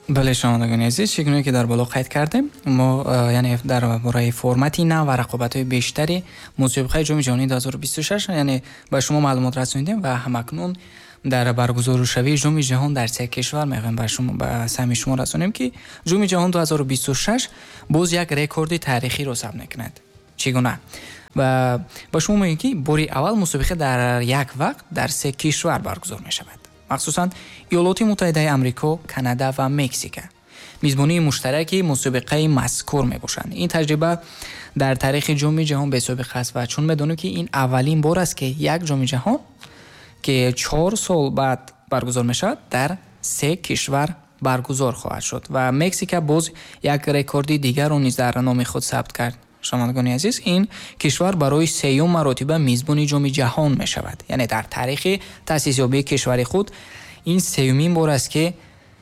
Бале, шунавандагони азиз, чӣ гуна ки дар боло қайд кардем, мо яъне дар бораи формати нав ва рақобатҳои бештари мусобиқаи Ҷоми ҷаҳонии 2026 яъне ба шумо маълумот расонидем ва ҳамакнун дар баргузоршавии Ҷоми ҷаҳон дар се кишвар мехоҳем ба шумо, ба самъи шумо расонем, ки Ҷоми ҷаҳон 2026 боз як рекорди таърихиро сабт мекунад. Чӣ гуна? Ва ба шумо мегӯем, ки бори аввал мусобиқа дар як вақт дар се кишвар баргузор мешавад. Махсусан Иёлоти Муттаҳидаи Амрико, Канада ва Мексика мизбонии муштараки мусобиқаи мазкур мебошанд. Ин таҷриба дар таърихи Ҷоми ҷаҳон бесобиқа аст ва чун медонем, ки ин аввалин бор аст, ки як Ҷоми ҷаҳон, ки 4 сол баъд баргузор мешавад, дар се кишвар баргузор хоҳад шуд. Ва Мексика боз як рекорди дигарро низ дар номи худ сабт кард. Шунавандагони азиз, ин кишвар барои сеюм маротиба мизбони Ҷоми ҷаҳон мешавад. Яъне дар таърихи таъсисёбии кишвари худ ин сеюмин бор аст, ки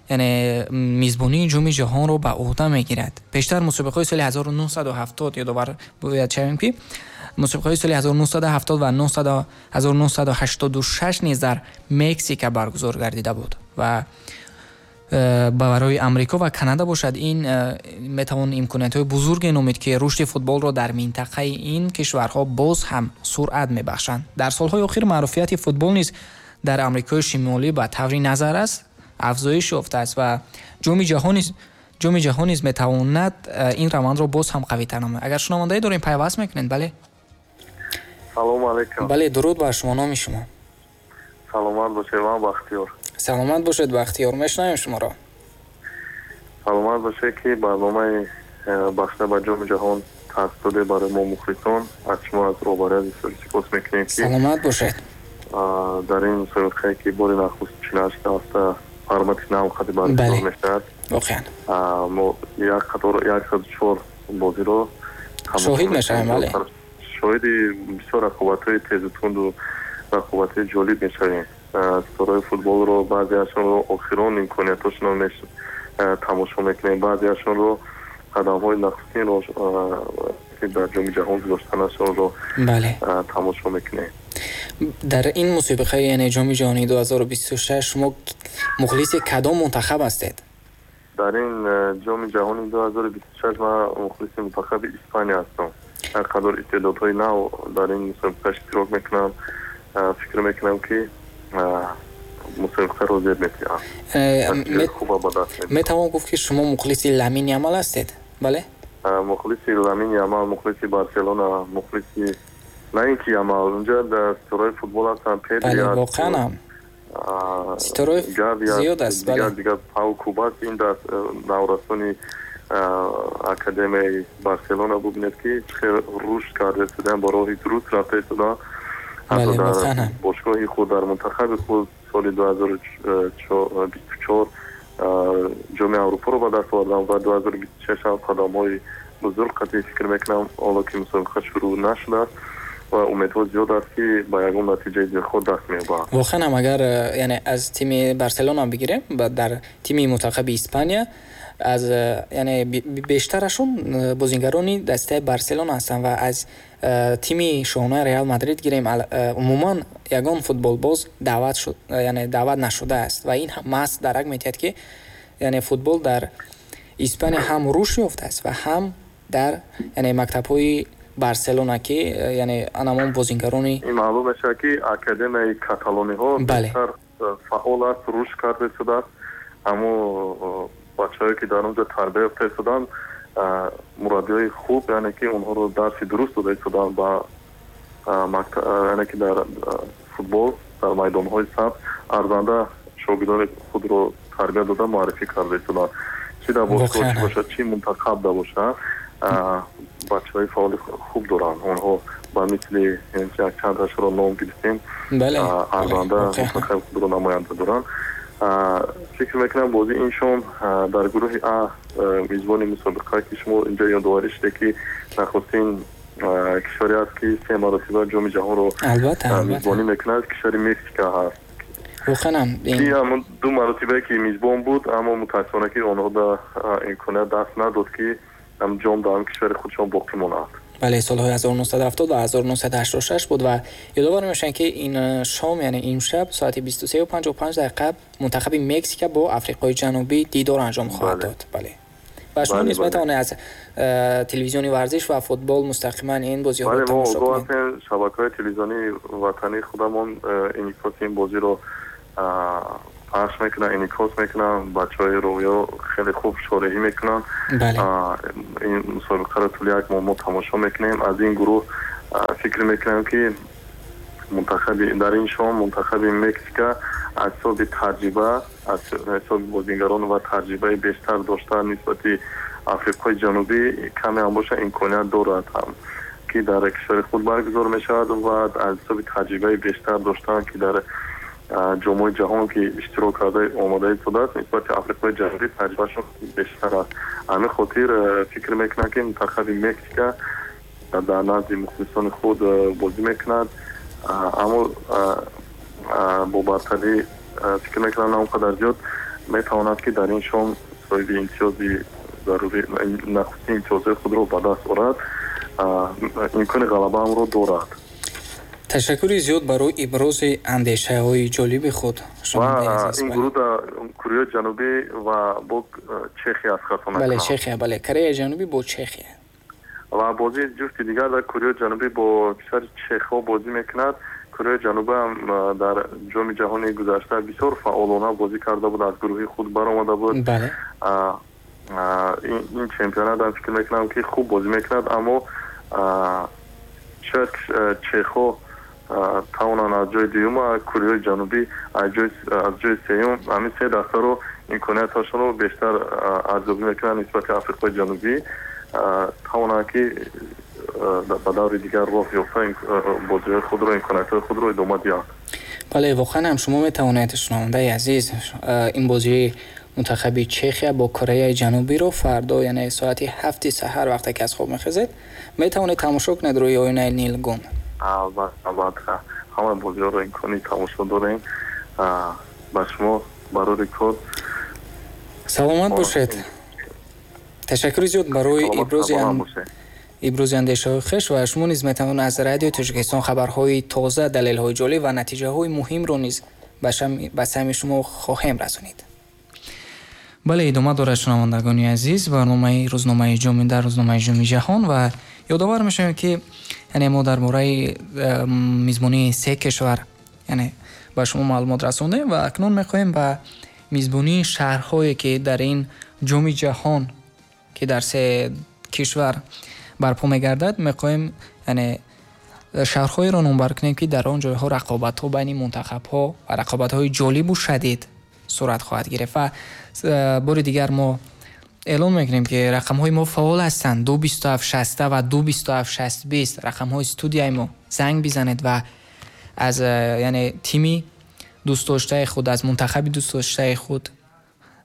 яъне мизбонии Ҷоми ҷаҳонро ба уҳда мегирад. Пештар мусобиқаҳои соли 1970, ёдовар бояд шавем, ки мусобиқаҳои соли 1970 ва 1986 низ дар Мексика баргузор гардида буд. Ва барои Амрико ва Канада бошад, ин метавон имкониятҳои бузурге номид, ки рушди футболро дар минтақаи ин кишварҳо боз ҳам суръат мебахшанд. Дар солҳои охир маъруфияти футбол низ дар Амрикои Шимолӣ ба таври назаррас афзоиш ёфтааст ва Ҷоми ҷаҳон низ метавонад ин равандро боз ҳам қавитар намояд. Агар шунавандае дорем, пайваст мекунед, бале. Салому алайкум. Бале, дуруд бар шумо. Номи шумо? Саломат бошед, ман Бахтиёр. Саломат бошед, Бахтиёр, мешунавем шуморо. Саломат бошед, ки барномаи бахшида ба Ҷоми ҷаҳон тартиб доде барои мо, мухлисон. Аз шумо, аз роҳбарияти бисёр сипос мекунем, ки Саломат бошед. Дар ин мусобиқае, ки бори нахуст 48 ҳафта формати нав қади баргузор мешавад, воқеан мо як қатор 104 бозиро шоҳид мешавем, бале. Шоҳиди бисёр рақобатҳои тезу тунду рақобатҳои ҷолиб мешавем. Ситораҳои футболро, баъзеашонро охирон имкониятҳошонро тамошо мекунем, баъзеашонро қадамҳои нахустинро, ки дар Ҷоми ҷаҳон гузоштанашонро тамошо мекунем. Дар ин мусобиқаи, яъне Ҷоми ҷаҳонии 2026, шумо мухлиси кадом мунтахаб ҳастед? Дар ин Ҷоми ҷаҳони 2026 ман мухлиси мунтахаби Испания ҳастам. Ҳар қадар истеъдодҳои нав дар ин мусобиқа иштирок мекунанд, фикр мекунам, ки мусобиқаро зеб метиҳанд. Хуба ба даст. Метавон гуфт, ки шумо мухлиси Ламин Ямал ҳастед, бале? Мухлиси Ламин Ямал, мухлиси Барселона, мухлиси на ин ки Ямал, унҷа дар ситораҳои футбол ҳастанд, Педри. Воқеан ҳам ситораҳои зиёд аст. Дигар дигар, Пау Кубарси, ин дар наврасони академияи Барселона, бубинед, ки чӣ хел рушд карда истодаанд, ба роҳи дуруст рафта истодаанд. Ҳатто дар бошгоҳи худ, дар мунтахаби худ соли 2024 Ҷоми Аврупоро ба даст овардам ва 2026 ҳам қадамҳои бузург қатъи. Фикр мекунам, ҳоло ки мусобиқа шурӯъ нашудааст ва умедҳо зиёд аст, ки ба ягон натиҷаи дилхоҳ даст меёбанд. Воқеан ҳам, агар яъне аз тими Барселона бигирем, дар тими мунтахаби Испания аз яъне бештарашон бозингарони дастаи Барселона ҳастанд ва аз тими шоҳонаи Реал Мадрид гирем, умуман ягон футболбоз даъват шуд, яъне даъват нашудааст. Ва ин маҳз дарак медиҳад, ки яъне футбол дар Испания ҳам рушд ёфтааст ва ҳам дар яъне мактабҳои Барселона, ки яъне анамон бозингарони Ин маълум мешавад, ки академияи каталониҳо бештар фаъол аст, рушд карда истодааст. Ҳамо бачаҳое, ки дар он ҷо тарбия ёфта истоданд, мураббиҳои хуб, яъне ки онҳоро дарси дуруст дода истоданд ба яъне ки дар футбол, дар майдонҳои сабз арзанда шогирдони худро тарбия дода, муаррифӣ карда истоданд. Чӣ дар бошгоҳ чӣ бошад, чӣ мунтахаб да бошад, бачаҳои фаъоли хуб доранд онҳо. Ба мисли чандташро ном гирифтем, арзанда мунтахаби худро намоянда доранд. Фикр мекунам, бозии ин шом дар гурӯҳи А, мизбони мусобиқа, ки шумо инҷо ёдоварӣ шуде, ки нахустин кишваре аст, ки се маротиба Ҷоми ҷаҳонро мизбонӣ мекунад, кишвари Мексика ҳаст. Воқеан. Ки ҳамон ду маротибае, ки мизбон буд, аммо мутаассифона, ки онҳо да имконият даст надод, ки ҷом дар ҳам кишвари худшон боқӣ монад. Бале, солҳои 1970 ва 1986 буд ва ёдовар мешавем, ки ин шом, яъне имшаб соати 23:55 дақиқа мунтахаби Мексика бо Африқои Ҷанубӣ дидор анҷом хоҳад дод. Бале. Ва шумо низ метавонед аз телевизиони варзиш ва футбол мустақиман ин бозиҳоро тамошо кунед. Бале, мо шабакаҳои телевизионии ватании худамон инъикоси ин бозиро пахш мекунанд, инъикос мекунанд, бачаҳои рӯё хеле хуб шореҳӣ мекунанд. Ин мусобиқаро тӯли як моҳ мо тамошо мекунем. Аз ин гурӯҳ фикр мекунам, ки мунтахаби дар ин шом мунтахаби Мексика аз ҳисоби таҷриба, аз ҳисоби бозигарон ва таҷрибаи бештар дошта нисбати Африқои Ҷанубӣ каме ҳам бошад имконият дорад ҳам, ки дар кишвари худ баргузор мешавад ва аз ҳисоби таҷрибаи бештар доштан, ки дар ҷомҳои ҷаҳон ки иштирок карда омода истодааст, нисбати Африқои Ҷанубӣ таҷрибаашон бештар аст. Ҳамин хотир фикр мекунам, ки мунтахаби Мексика дар назди мухлисони худ бозӣ мекунад, аммо бо бартарӣ фикр мекунам на он қадар зиёд метавонад, ки дар ин шом соҳиби имтиёзи зарурӣ, нахустин имтиёзҳои худро ба даст орад, имкони ғалабаамро дорад. Ташаккури зиёд барои ибрози андешаҳои ҷолиби худ. Ва ин гурӯҳ дар Кореяи Ҷанубӣ ва бо Чехия аст, хато накунам. Бале, Чехия, бале, Кореяи Ҷанубӣ бо Чехия. Ва бозии ҷуфти дигар дар Кореяи Ҷанубӣ бо кишвари Чехҳо бозӣ мекунад. Кореяи Ҷанубӣ ҳам дар ҷоми ҷаҳони гузашта бисёр фаъолона бозӣ карда буд, аз гурӯҳи худ баромада буд. Ин чемпионат ҳам фикр мекунам, ки хуб бозӣ мекунад, аммо шояд чехҳо тавонанд аз ҷои дуюм, Кореяи Ҷанубӣ аз ҷои сеюм, ҳамин се дастаро имкониятҳошонро бештар арзёбӣ мекунанд нисбати Африқои Ҷанубӣ, тавонанд, ки ба даври дигар роҳ ёфта бозиҳои худро, имкониятҳои худро идома диҳанд. Бале, воқеан ҳам шумо метавонед, шунавандаи азиз, ин бозии мунтахаби Чехия бо Кореяи Ҷанубиро фардо, яъне соати 7 саҳар вақте ки аз хоб мехезед, метавонед тамошо кунед рӯи оинаи нилгун. Албатта, ҳама бозиҳоро имкони тамошо дорем. Ба шумо барори кор. Саломат бошед. Ташаккури зиёд барои ибрози андешаҳои хеш ва шумо низ метавонед аз Радиои Тоҷикистон хабарҳои тоза, далелҳои ҷолиб ва натиҷаҳои муҳимро низ ба самъи шумо хоҳем расонид. Бале, идома дорад, шунавандагони азиз, барномаи рӯзномаи ҷоми дар рӯзномаи ҷоми ҷаҳон ва ёдовар мешавем, ки яъне мо дар бораи мизбонии се кишвар яъне ба шумо маълумот расондем ва акнун мехоҳем ба мизбонии шаҳрҳое, ки дар ин ҷоми ҷаҳон, ки дар се кишвар барпо мегардад, мехоҳем яъне шаҳрҳоеро номбар кунем, ки дар он ҷойҳо рақобатҳо байни мунтахабҳо ва рақобатҳои ҷолибу шадид сурат хоҳад гирифт. Ва бори дигар мо эълон мекунем, ки рақамҳои мо фаъол ҳастанд: 227 60 ва 227 60 20 рақамҳои студияи мо. Занг бизанед ва аз яъне тими дӯстдоштаи худ, аз мунтахаби дӯстдоштаи худ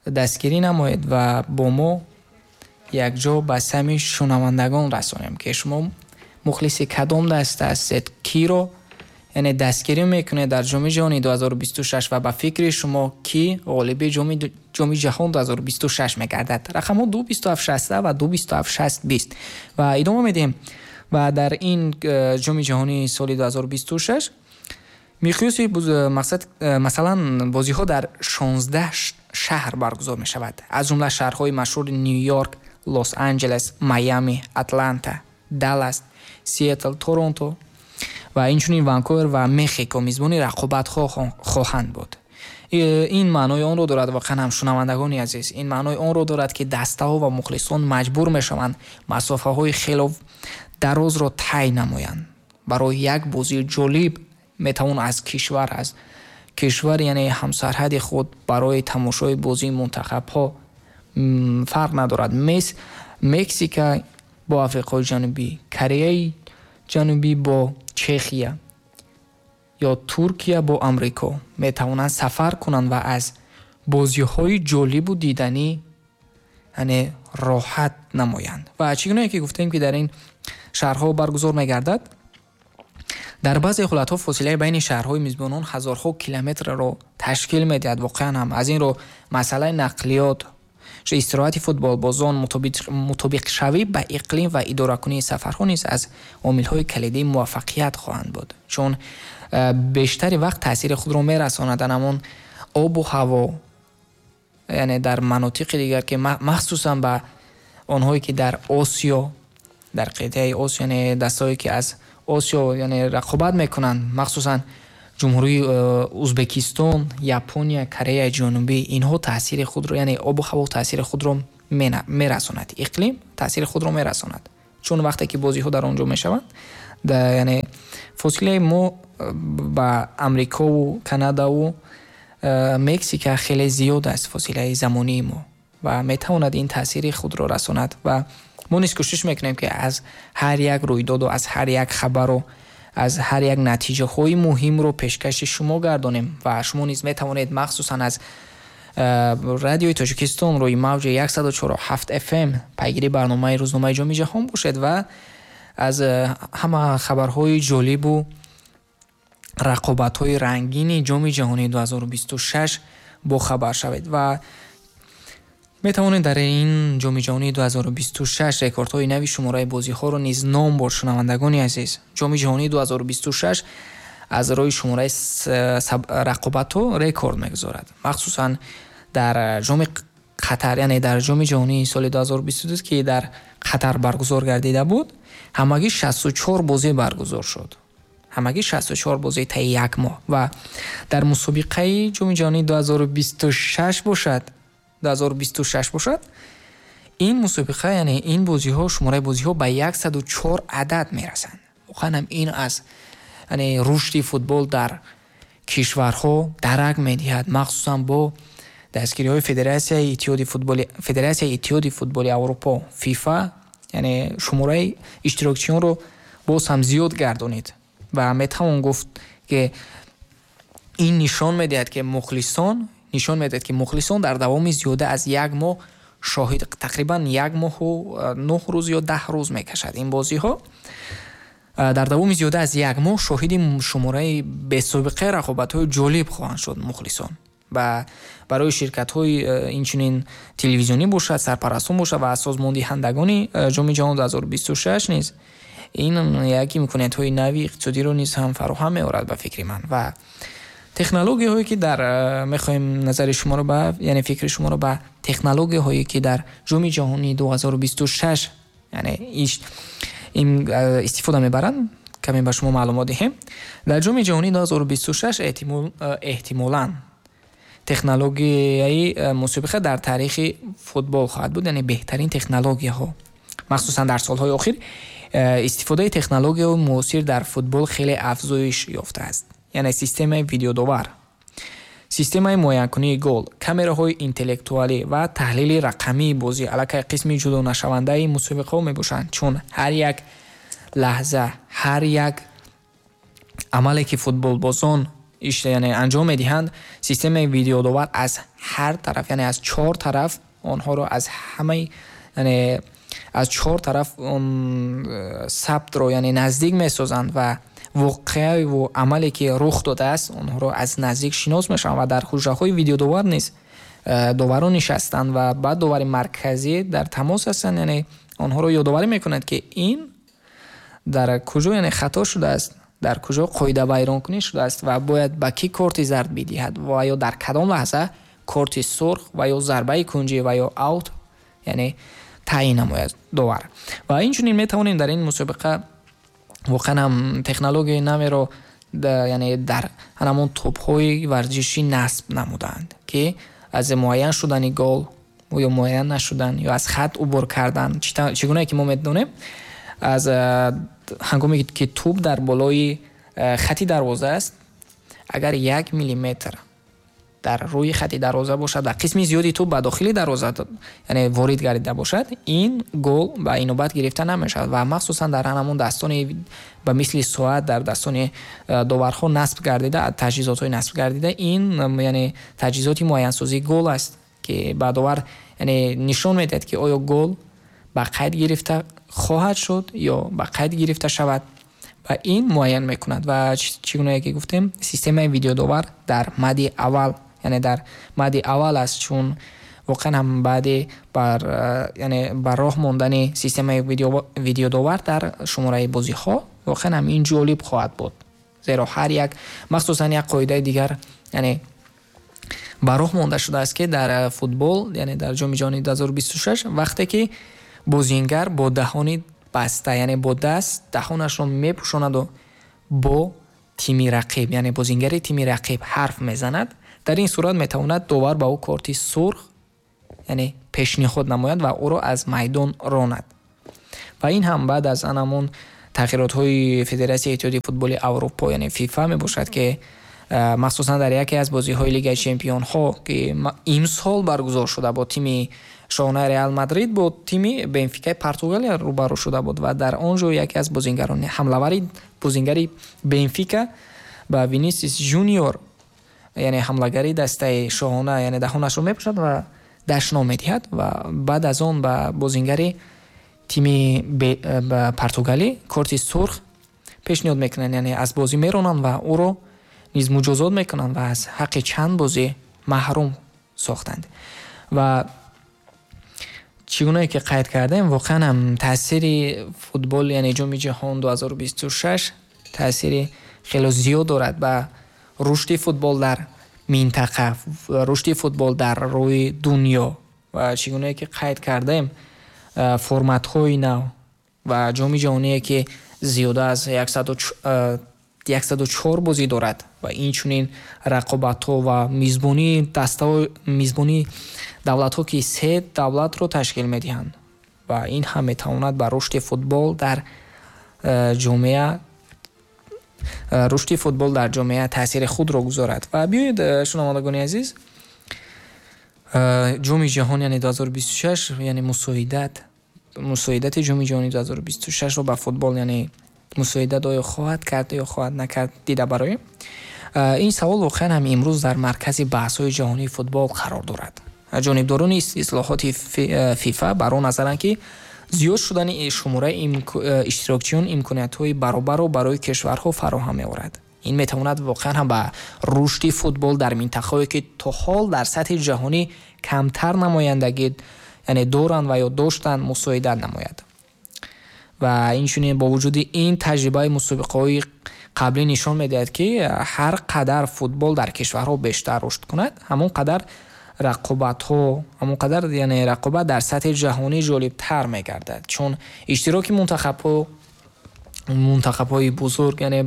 дастгирӣ намоед ва бо мо якҷо ба самъи шунавандагон расонем, ки шумо мухлиси кадом даста ҳастед, киро яъне дастгирӣ мекунед дар ҷоми ҷаҳони 2026 ва ба фикри шумо ки ғолиби ҷоми ҷаҳон 2026 мегардад. Рақамҳо 227 60 ва 227 60 20 ва идома медиҳем. Ва дар ин ҷоми ҷаҳони соли 2026 миқёси мақсад, масалан, бозиҳо дар 16 шаҳр баргузор мешавад, аз ҷумла шаҳрҳои машҳури Нью-Йорк, Лос-Анҷелес, Майами, Атланта, Даллас, Сиэтл, Торонто ва инчунин Ванкувер ва Мехико мизбони рақобатҳо хоҳанд буд. Ин маънои онро дорад, воқеан ҳам шунавандагони азиз, ин маънои онро дорад, ки дастаҳо ва мухлисон маҷбур мешаванд масофаҳои хело дарозро тай намоянд. Барои як бозии ҷолиб метавон аз кишвар, аз кишвар яъне ҳамсарҳади худ барои тамошои бозии мунтахабҳо фарқ надорад. Мексика бо Африқои Ҷанубӣ, Кореяи Ҷанубӣ бо Чехия ё Туркия бо Амрико метавонанд сафар кунанд ва аз бозиҳои ҷолибу диданӣ яъне роҳат намоянд. Ва чӣ гунае ки гуфтем, ки дар ин шаҳрҳо баргузор мегардад, дар баъзе ҳолатҳо фосилаи байни шаҳрҳои мизбонон ҳазорҳо километрро ташкил медиҳад. Воқеан ҳам аз ин рӯ масъалаи нақлиёт Истироҳати футболбозон, мутобиқшавӣ ба иқлим ва идоракунии сафарҳо низ аз омилҳои калидии муваффақият хоҳанд буд, чун бештари вақт таъсири худро мерасонад ҳамон обу ҳаво, яъне дар манотиқи дигар, ки махсусан ба онҳое ки дар Осиё, дар қитъаи Осиё, яъне дастҳое ки аз Осиё, яъне рақобат мекунанд, махсусан ҷумҳурии Узбекистон, Япония, Кореяи Ҷанубӣ, инҳо таъсири худро, яъне обу ҳаво таъсири худро мерасонад, иқлим таъсири худро мерасонад, чун вақте ки бозиҳо дар он ҷо мешаванд, яъне фосилаи мо ба Амрикову Канадаву Мексика хеле зиёд аст, фосилаи замонии мо, ва метавонад ин таъсири худро расонад. Ва мо низ кӯшиш мекунем, ки аз ҳар як рӯйдоду аз ҳар як хабару аз ҳар як натиҷаҳои муҳимро пешкаши шумо гардонем. Ва шумо низ метавонед махсусан аз Радиои Тоҷикистон рӯи мавҷи 104.7 FM пайгири барномаи рӯзномаи Ҷоми ҷаҳон бошед ва аз ҳама хабарҳои ҷолибу рақобатҳои рангини Ҷоми ҷаҳонии 2026 бохабар шавед. Ва метавонед дар ин Ҷоми ҷаҳонии 2026 рекордҳои нави шумораи бозиҳоро низ ном бурд. Шунавандагони азиз, Ҷоми ҷаҳонии 2026 аз рӯи шумораи рақобатҳо рекорд мегузорад, махсусан дар Ҷоми Қатар, яъне дар Ҷоми ҷаҳонии соли 2022, ки дар Қатар баргузор гардида буд, ҳамагӣ 64 бозӣ баргузор шуд, ҳамагӣ 64 бозӣ таи як моҳ. Ва дар мусобиқаи Ҷоми ҷаҳонии 2026 бошад, 2026 бошад, ин мусобиқа, яъне ин бозиҳо, шумораи бозиҳо ба 104 адад мерасанд. Воқеан ҳам ин аз, яъне, рушди футбол дар кишварҳо дарак медиҳад, махсусан бо дастгириҳои Федератсияи Иттиҳоди футболи Аврупо, ФИФА, яъне шумораи иштирокчиёнро боз ҳам зиёд гардонид. Ва метавон гуфт, ки ин нишон медиҳад, ки мухлисон нишон медиҳад, ки мухлисон дар давоми зиёда аз як моҳ шоҳид, тақрибан як моҳу 9 рӯз ё 10 рӯз мекашад ин бозиҳо, дар давоми зиёда аз як моҳ шоҳиди шумораи бесобиқаи рақобатҳои ҷолиб хоҳанд шуд мухлисон. Ва барои ширкатҳои инчунин телевизионӣ бошад, сарпарастон бошад ва созмондиҳандагони Ҷоми ҷаҳон 2026 низ ин як имкониятҳои нави иқтисодиро низ ҳам фароҳам меорад, ба фикри ман. Ва технологияҳое ки дар мехоҳем назари шуморо ба, яъне фикри шуморо ба технологияҳое ки дар Ҷоми ҷаҳонии 2026, яъне истифода мебаранд, каме ба шумо маълумот диҳем. Дар Ҷоми ҷаҳонии 2026 эҳтимолан технологияи мусобиқа дар таърихи футбол хоҳад буд, яъне беҳтарин технологияҳо. Махсусан дар солҳои охир истифодаи технологияҳои муосир дар футбол хеле афзоиш ёфтааст, яъне системаи видеодовар, системаи муайянкунии гол, камераҳои интеллектуалӣ ва таҳлили рақамии бозӣ аллакай қисми ҷудонашавандаи мусобиқаҳо мебошанд, чун ҳар як лаҳза, ҳар як амале ки футболбозон яъне анҷом медиҳанд, системаи видеодовар аз ҳар тараф, яъне аз чор тараф онҳоро, аз ҳамаи, яъне аз чор тараф он сабтро, яъне наздик месозанд ва воқеаву амале ки рух додааст, онҳоро аз наздик шинос мешаванд. Ва дар ҳуҷраҳои видеодовар низ доварон нишастанд ва ба довари марказӣ дар тамос ҳастанд, яъне онҳоро ёдоварӣ мекунанд, ки ин дар куҷо, яъне хато шудааст, дар куҷо қоидавайронкунӣ шудааст ва бояд ба кӣ корти зард бидиҳад ва ё дар кадом лаҳза корти сурх ва ё зарбаи кунҷӣ ва ё аут, яъне таъйин намояд довар. Ва инчунин метавонем дар ин мусобиқа воқеан ҳам технологияи наверо, яъне дар ҳамон тӯбҳои варзишӣ насб намуданд, ки аз муайян шудани гол ё муайян нашудан ё аз хат убур кардан, чӣ гунае ки мо медонем, аз ҳангоме ки тӯб дар болои хати дарвоза аст, агар 1 миллиметр дар рӯи хати дарвоза бошад ва қисми зиёди тӯб ба дохили дарвоза, яъне ворид гардида бошад, ин гол ба инобат гирифта намешавад. Ва махсусан дар ҳамон дастони ба мисли соат дар дастони доварҳо насб гардида, таҷҳизотҳои насб гардида, ин яъне таҷҳизоти муайянсозии гол аст, ки ба довар, яъне нишон медиҳад, ки оё гол ба қайд гирифта хоҳад шуд ё ба қайд гирифта шавад, ва ин муайян мекунад. Ва чӣ гунае ки гуфтем, системаи видеодовар дар мади аввал, яъне дар мади аввал аст, чун Воқеан ҳам баъди бар яъне бар роҳ мондани системаи видеодовар дар шумораи бозиҳо, воқеан ҳам ин ҷолиб хоҳад буд, зеро ҳар як, махсусан як қоидаи дигар, яъне ба роҳ монда шудааст, ки дар футбол, яъне дар Ҷоми ҷаҳони 2026, вақте ки бозингар бо даҳони баста, яъне бо даст даҳонашро мепӯшонаду бо тими рақиб, яъне бозингари тими рақиб ҳарф мезанад, дар ин сурат метавонад довар ба ӯ корти сурх, яъне пешниҳод намояд ва ӯро аз майдон ронад. Ва ин ҳам баъд аз анамон тағйиротҳои Федератсияи Иттиҳоди футболи Аврупо, яъне ФИФА мебошад, ки махсусан дар яке аз бозиҳои Лигаи чемпионҳо, ки имсол баргузор шуда, бо тими шоҳонаи Реал Мадрид бо тими Бенфикаи Португалия рӯбарӯ шуда буд ва дар он ҷо яке аз бозингарони ҳамлавари бозингари Бенфика ба Винисис Жуниор, яъне ҳамлагари дастаи шоҳона, яъне даҳонашро мепӯшад ва дашном медиҳад ва баъд аз он ба бозингари тими португалӣ корти сурх пешниҳод мекунанд, яъне аз бозӣ меронанд ва ӯро низ муҷозот мекунанд ва аз ҳаққи чанд бозӣ маҳрум сохтанд. Ва чӣ гунае ки қайд кардем, воқеан ҳам таъсири футбол, яъне Ҷоми ҷаҳон 2026, таъсири хело зиёд дорад ба рушди футбол дар минтақа, рушди футбол дар рӯи дунё. Ва чӣ гунае ки қайд кардем, форматҳои нав ва Ҷоми ҷаҳоние, ки зиёда аз 104 бозӣ дорад, ва инчунин рақобатҳо ва мизбонии дастаҳо, мизбонии давлатҳо, ки се давлатро ташкил медиҳанд, ва ин ҳам метавонад ба рушди футбол дар ҷомеа, рушди футбол дар ҷомеа таъсири худро гузорад. Ва биёед, шунавандагони азиз, Ҷоми ҷаҳон, яъне 2026, яъне мусоидати Ҷоми ҷаҳони 2026-ро ба футбол, яъне мусоидат оё хоҳад кард ё хоҳад накард, дида бароем. Ин савол воқеан ҳам имрӯз дар маркази баҳсҳои ҷаҳонии футбол қарор дорад. Ҷонибдорони ислоҳоти ФИФА бар он назаранд, ки зиёд шудани шумораи иштирокчиён имкониятҳои баробарро барои кишварҳо фароҳам меорад. Ин метавонад воқеан ҳам ба рушди футбол дар минтақаҳое, ки то ҳол дар сатҳи ҷаҳонӣ камтар намояндагӣ, яъне доранд ва ё доштанд, мусоидат намояд. Ва инчунин бо вуҷуди ин, таҷрибаи мусобиқаҳои қаблӣ нишон медиҳад, ки ҳар қадар футбол дар кишварҳо бештар рушд кунад, ҳамон қадар рақобатҳо, ҳамон қадар, яъне рақобат дар сатҳи ҷаҳонӣ ҷолибтар мегардад, чун иштироки мунтахабҳои бузург, яъне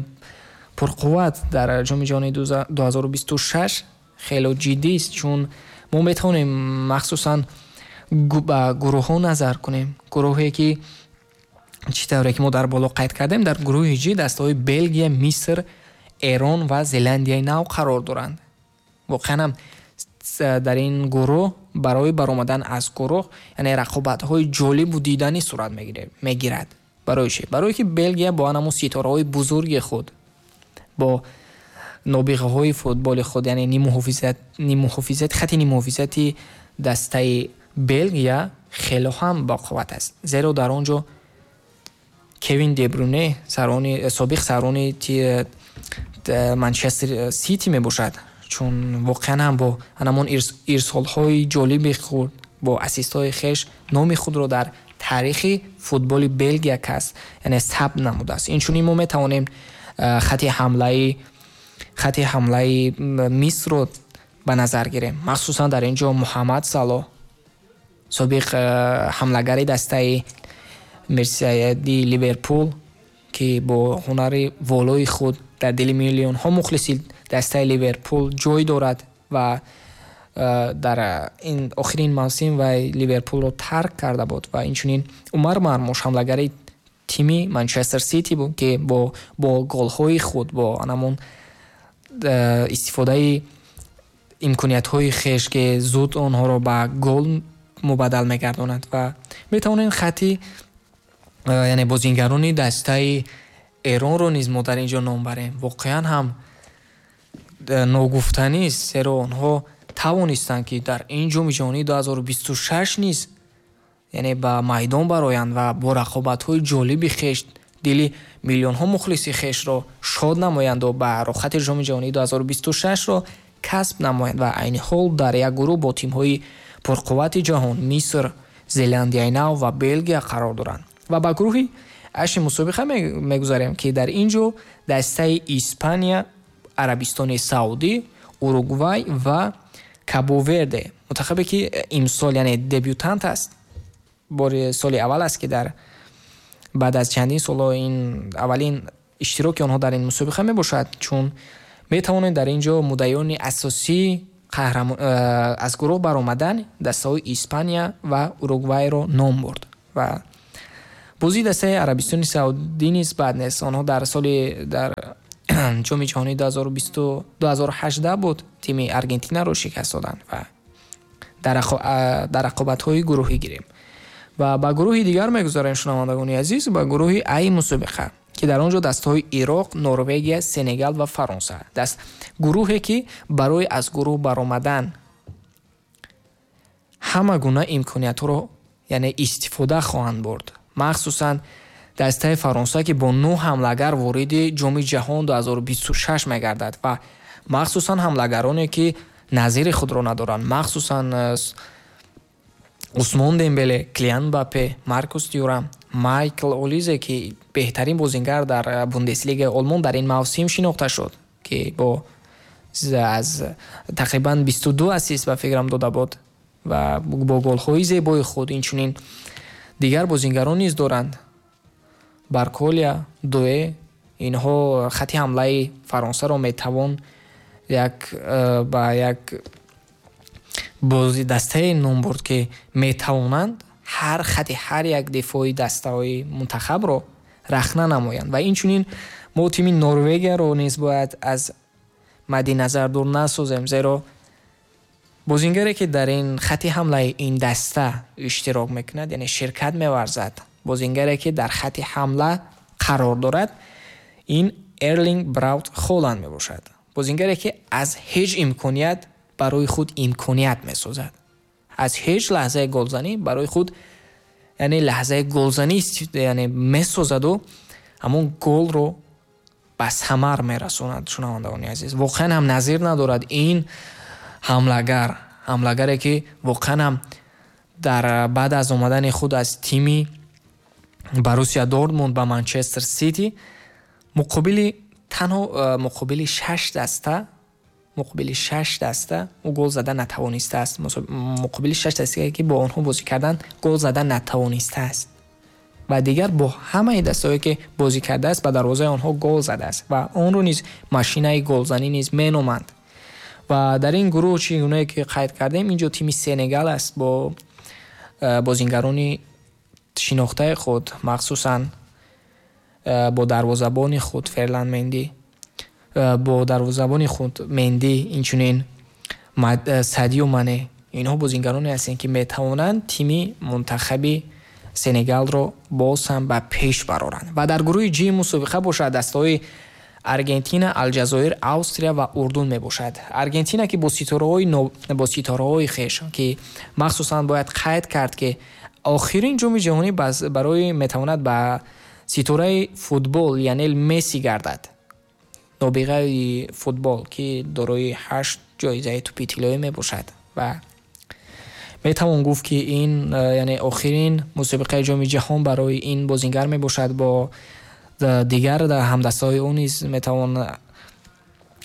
пурқувват дар Ҷоми ҷаҳони 2026 хело ҷиддист, чун мо метавонем махсусан ба гурӯҳҳо назар кунем. Гурӯҳе, ки чӣ тавре ки мо дар боло қайд кардем, дар гурӯҳи Ҷи дастаҳои Белгия, Миср, Эрон ва Зеландияи Нав қарор доранд. Воқеан ҳам дар ин гурӯҳ барои баромадан аз гурӯҳ, яъне рақобатҳои ҷолибу диданӣ сурат мегирад. Барои чӣ? Барое ки Белгия бо анамун ситораҳои бузурги худ, бо нобиғаҳои футболи худ, яъне ниммуҳофизат, хати ниммуҳофизати дастаи Белгия хело ҳам боқувват аст, зеро дар он ҷо Кевин Дебруне, сарони собиқ сарони Манчестер Сити мебошад, чун воқеан ҳам бо анамон ирсолҳои ҷолиби худ, бо ассистҳои хеш номи худро дар таърихи футболи Белгия кас, яъне сабт намудааст. Инчунин мо метавонем хати ҳамлаи Мисрро ба назар гирем, махсусан дар ин ҷо Муҳаммад Салоҳ, собиқ ҳамлагари дастаи мерсисайди Ливерпул, ки бо ҳунари волои худ дар дили миллионҳо мухлиси дастаи Ливерпул ҷой дорад ва дар ин охирин мавсим вай Ливерпулро тарк карда буд, ва инчунин Умар Мармуш, ҳамлагари тими Манчестер Сити буд, ки бо голҳои худ, бо анамон истифодаи имкониятҳои хеш, ки зуд онҳоро ба гол мубаддал мегардонад. Ва метавонем хати, яъне бозингарони дастаи Эронро низ мо дар ин ҷо ном барем. Воқеан ҳам ногуфтанист, зеро онҳо тавонистанд, ки дар ин Ҷоми ҷаҳонии 2026 низ, яъне ба майдон бароянд ва бо рақобатҳои ҷолиби хеш дили миллионҳо мухлиси хешро шод намоянду ба рохати Ҷоми ҷаҳонии 2026-ро касб намоянд ва айни ҳол дар як гурӯҳ бо тимҳои пурқуввати ҷаҳон Миср, Зеландияи Нав ва Белгия қарор доранд. Ва ба гурӯҳи H мусобиқа мегузарем, ки дар ин ҷо дастаи Испания, Арабистони Саудӣ, Уругвай ва Кабо-Верде, мунтахабе ки имсол, яъне дебютант аст, бори соли аввал аст, ки дар баъд аз чандин солҳо ин аввалин иштироки онҳо дар ин мусобиқа мебошад, чун метавонед дар ин ҷо муддаиёни асосии аз гурӯҳ баромадан дастаҳои Испания ва Уругвайро ном бурд. Ва бозии дастаи Арабистони Саудӣ низ бад нест. Онҳо дар соли дар ҷоми ҷаҳонии 2018 буд, тими Аргентинаро шикаст доданд ва дар рақобатҳои гурӯҳӣ гирем. Ва ба гурӯҳи дигар мегузарем, шунавандагони азиз, ба гурӯҳи Ай мусобиқа, ки дар он ҷо дастаҳои Ироқ, Норвегия, Сенегал ва Фаронса. Даст гурӯҳе ки барои аз гурӯҳ баромадан ҳама гуна имкониятҳоро, яъне истифода хоҳанд бурд. Махсусан дастаи Фаронса, ки бо 9 ҳамлагар вориди ҷоми ҷаҳон 2026 мегардад ва махсусан ҳамлагароне ки назири худро надоранд, махсусан Усмон Дембеле, Килиан Мбаппе, Маркус Тюрам, Майкл Олизе, ки беҳтарин бозингар дар Бундеслигаи Олмон дар ин мавсим шинохта шуд, ки бо аз тақрибан 22 ассист ба фикрам дода буд ва бо голҳои зебои худ. Инчунин дигар бозингарон низ доранд: Барколия, Дуэ. Инҳо хати ҳамлаи Фаронсаро метавон як ба як бози дастае ном бурд, ки метавонанд ҳар хати ҳар як дифои дастаҳои мунтахабро рахна намоянд. Ва инчунин мо тими Норвегияро низ бояд аз мадди назар дур насозем, зеро бозингаре ки дар ин хати ҳамлаи ин даста иштирок мекунад, яъне ширкат меварзад, бозингаре ки дар хати ҳамла қарор дорад, ин Эрлинг Браут Холанд мебошад. Бозингаре ки аз ҳеҷ имконият барои худ имконият месозад, аз ҳеҷ лаҳзаи голзанӣ барои худ, яъне лаҳзаи голзанӣ, яъне месозаду ҳамон голро ба самар мерасонад. Шунавандагони азиз, воқеан ҳам назир надорад ин ҳамлагар, ҳамлагаре ки воқеан ҳам дар баъд аз омадани худ аз тими Боруссия Дортмунд ба Манчестер Сити муқобили танҳо муқобили 6 даста, муқобили 6 даста ӯ гол зада натавонистааст. Муқобили 6 дастае ки бо онҳо бозӣ карданд, гол зада натавонистааст ва дигар бо ҳамаи дастаҳое ки бозӣ кардааст, ба дарвозаи онҳо гол задааст ва онро низ машинаи голзанӣ низ меноманд. Ва дар ин гурӯҳ, чӣ гунае ки қайд кардем, инҷо тими Сенегал аст бо бозингарони шинохтаи худ, махсусан бо дарвозабони худ Ферланд Менди, бо дарвозабони худ Менди, инчунин Садио Мане. Инҳо бозингароне ҳастанд, ки метавонанд тими мунтахаби Сенегалро боз ҳам ба пеш бароранд. Ва дар гурӯҳи Ҷи мусобиқа бошад, дастаҳои Аргентина, Алҷазоир, Австрия ва Урдун мебошад. Аргентина, ки бо ситораҳои хеш, ки махсусан бояд қайд кард, ки охирин ҷоми ҷаҳонӣ барои метавонад ба ситораи футбол Лионел Месси гардад, нобиғаи футбол, ки дорои 8 ҷоизаи тӯпи тиллоӣ мебошад. Ва метавон гуфт, ки ин, яъне охирин мусобиқаи ҷоми ҷаҳон барои ин бозингар мебошад. Бо дигар ҳамдастаҳои ӯ низ метавон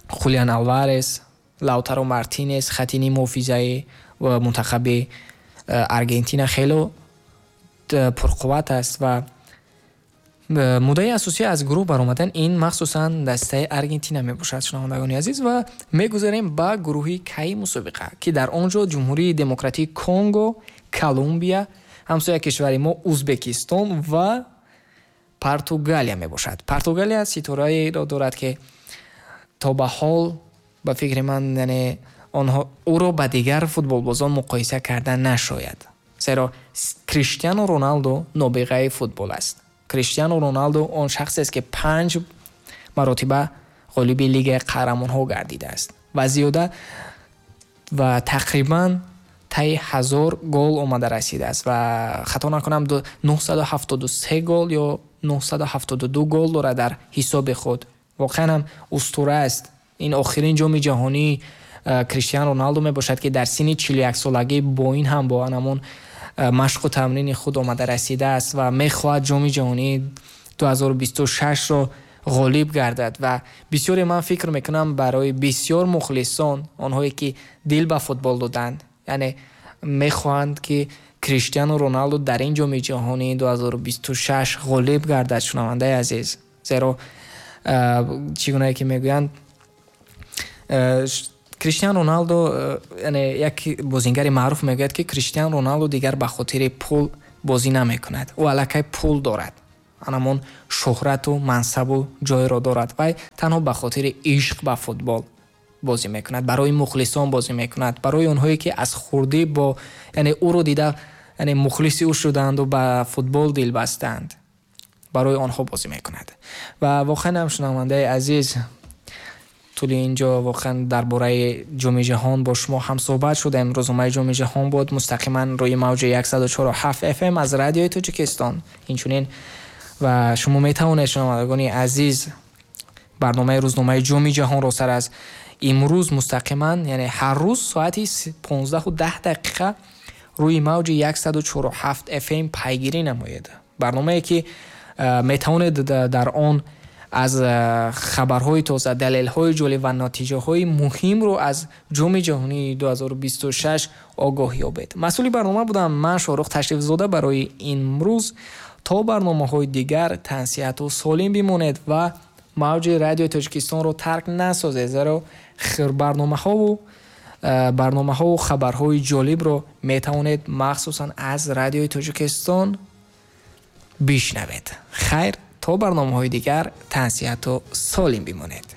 Хулиан Алварес, Лаутаро Мартинес, хати нимҳофизаи мунтахаби Аргентина хело пурқувват аст ва муддаи асосӣ аз гурӯҳ баромадан ин махсусан дастаи Аргентина мебошад, шунавандагони азиз. Ва мегузарем ба гурӯҳи Кай мусобиқа, ки дар он ҷо Ҷумҳурии Демократии Конго, Колумбия, ҳамсоя кишвари мо Узбекистон ва Португалия мебошад. Португалия ситораеро дорад, ки то ба ҳол ба фикри ман, яъне онҳо ӯро ба дигар футболбозон муқоиса карда нашояд, зеро Криштиану Роналдо нобиғаи футбол аст. Криштиану Роналдо он шахсест, ки 5 маротиба ғолиби Лигаи қаҳрамонҳо гардидааст ва зиёда ва тақрибан таи 1000 гол омада расидааст ва хато накунам 973 гол ё 972 гол дорад дар ҳисоби худ. Воқеан ҳам устура аст. Ин охирин ҷоми ҷаҳонии Криштиану Роналду мебошад, ки дар синни 41 солагӣ бо ин ҳам бо ҳамон машқу тамрини худ омада расидааст ва мехоҳад Ҷоми ҷаҳонии 2026-ро ғолиб гардад. Ва бисёре, ман фикр мекунам, барои бисёр мухлисон, онҳое ки дил ба футбол доданд, яъне мехоҳанд, ки Криштиану Роналду дар ин Ҷоми ҷаҳонии 2026 ғолиб гардад, шунавандаи азиз. Зеро чӣ гунае ки мегӯянд, Криштиану Роналду, яъне як бозингари маъруф мегӯяд, ки Криштиану Роналду дигар ба хотири пул бозӣ намекунад, ӯ аллакай пул дорад, анамон шӯҳрату мансабу ҷойро дорад, вай танҳо ба хотири ишқ ба футбол бозӣ мекунад, барои мухлисон бозӣ мекунад, барои онҳое ки аз хурдӣ бо яъне ӯро дида, яъне мухлиси ӯ шудаанду ба футбол дил бастаанд, барои онҳо бозӣ мекунад. Ва воқеан ҳам, шунавандаи азиз, тӯли инҷо воқеан дар бораи Ҷоми ҷаҳон бо шумо ҳамсӯҳбат шудем. Рӯзномаи Ҷоми ҷаҳон буд мустақиман рӯи мавҷи 104,7 FM аз Радиои Тоҷикистон. Инчунин ва шумо метавонед, шунавандагони азиз, барномаи рӯзномаи Ҷоми ҷаҳонро сар аз имрӯз мустақиман, яъне ҳар рӯз соати 15:10 рӯи мавҷи 104,7 FM пайгирӣ намоед. Барномае ки метавонед дар он аз хабарҳои тоза, далелҳои ҷолиб ва натиҷаҳои муҳимро аз Ҷоми ҷаҳонии 2026 огоҳ ёбед. Масъули барнома будам ман, Шоҳрух Ташрифзода, барои имрӯз. То барномаҳои дигар тансиҳату солим бимонед ва мавҷи Радиои Тоҷикистонро тарк насозед, зеро барномаҳову хабарҳои ҷолибро метавонед махсусан аз Радиои Тоҷикистон бишнавед. Хайр, то барномаҳои дигар тансиҳату солим бимонед.